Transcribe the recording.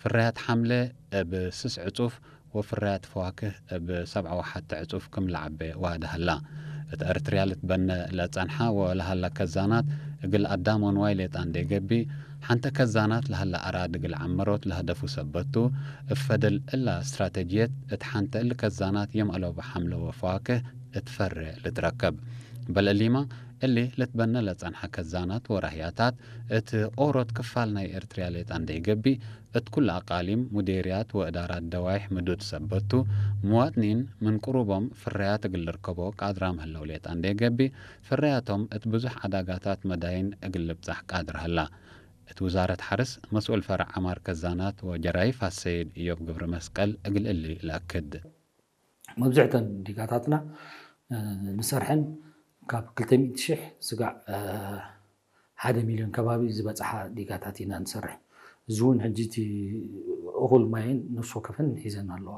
ፍርያት ሓምለ እብ ስስ ዕጹፍ ወፍርያት ፈዋክህ እብ ሰብዓ ወሓተ ዕጹፍ ክም ለዓበ ዋህደ ሀላ። እት ኤርትርያ ልትበነ ለጸንሓ ወለሀላ ከዛናት እግል ኣዳም ወንዋይ ሌጣ እንዴ ገብእ፣ ሓንተ ከዛናት ለሀላ ኣራድ እግል ዓመሮት ለሀደፉ ሰበቱ፣ እብ ፈደል እላ እስትራተጅየት እት ሓንተ እሊ ከዛናት የም አለቡ ሓምለ ወፈዋክህ እት ፈሬ ልትረከብ። በል እሊማ እሊ ልትበነ ለጸንሐ ከዛናት ወራህያታት እት ኦሮት ክፋል ናይ ኤርትርያ ሌጣ እንዴ ገብእ፣ እት ኩለ ኣቃሊም፣ ሙዴርያት ወእዳራት ደዋይሕ ምዱድ ሰበቱ፣ ምዋጥኒን ምን ቅሩቦም ፍርያት እግል ልርከቦ ቃድራም ህለው ሌጣ እንዴ ገብእ፣ ፍርያቶም እት ብዙሕ ዓዳጋታት መዳይን እግል ልብጻሕ ቃድር ሀላ። እት ውዛረት ሐርስ መስኡል ፈረዕ ዐማር ከዛናት ወጀራይፍ አሰይድ እዮብ ግብረመስቀል እግል እሊ ለአክድ። መብዝሕተን ዲጋታትና ንሰርሐን ካብ ክልተ ሚእቲ ሽሕ ስጋዕ ሓደ ሚልዮን ከባቢ ዝበፅሓ ዲጋታት ኢና ንሰርሕ። እዚ እውን ሕጂ እቲ እኹል ማይን ነፍሲ ወከፈን ሒዘን ኣለዋ።